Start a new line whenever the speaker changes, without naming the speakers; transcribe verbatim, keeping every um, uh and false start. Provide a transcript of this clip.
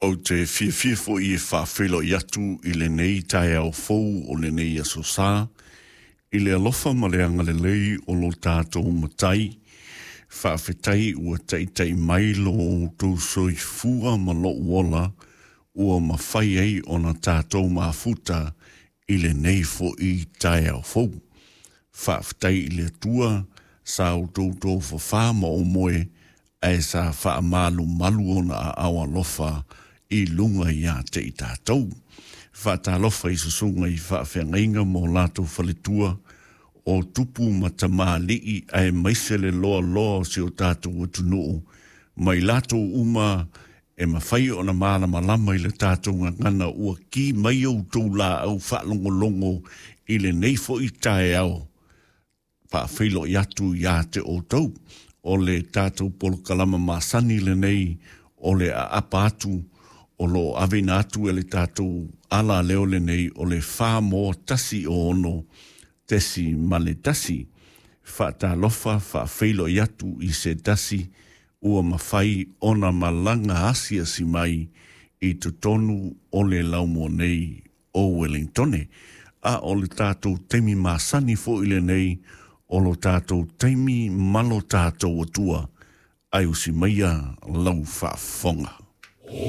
Ou te fiafia foi e faafeiloai atu i lenei taeao fou o lenei aso sa, i le alofa ma le agalelei o lo tatou Matai. Faafetai ua taitai mai lo outou soifua ma lou ola, ua mafai ai ona tatou mafuta i lenei foi taeao fou. Faafetai i le Atua sa outou tofafā ma omoe, ae sa faamalumalu ona aao alofa i luga ia te i tatou. Faatalofa i susuga i faafeagaiga ma o latou faletua, o tupu ma tamalii aemaise le loaloa o si o tatou atunuu, ma i latou uma e mafai ona malamalama i le tatou gagana ua ki mai outou laau faalogologo i lenei foi taeao. Faafeiloai atu ia te outou. O le tatou polokalama masani lenei o le aapa atu o lo o aveina atu e le tatou alaleo lenei o le fa moa tasi ono tesi ma le tasi. Faatalofa faafeiloai atu i se tasi ua mafai ona malaga asiasi mai i totonu o le laumua nei o Wellingtone. A o le tatou taimi masani foi lenei o lo tatou taimi ma lo tatou Atua, ae usi maia lau faafofoga.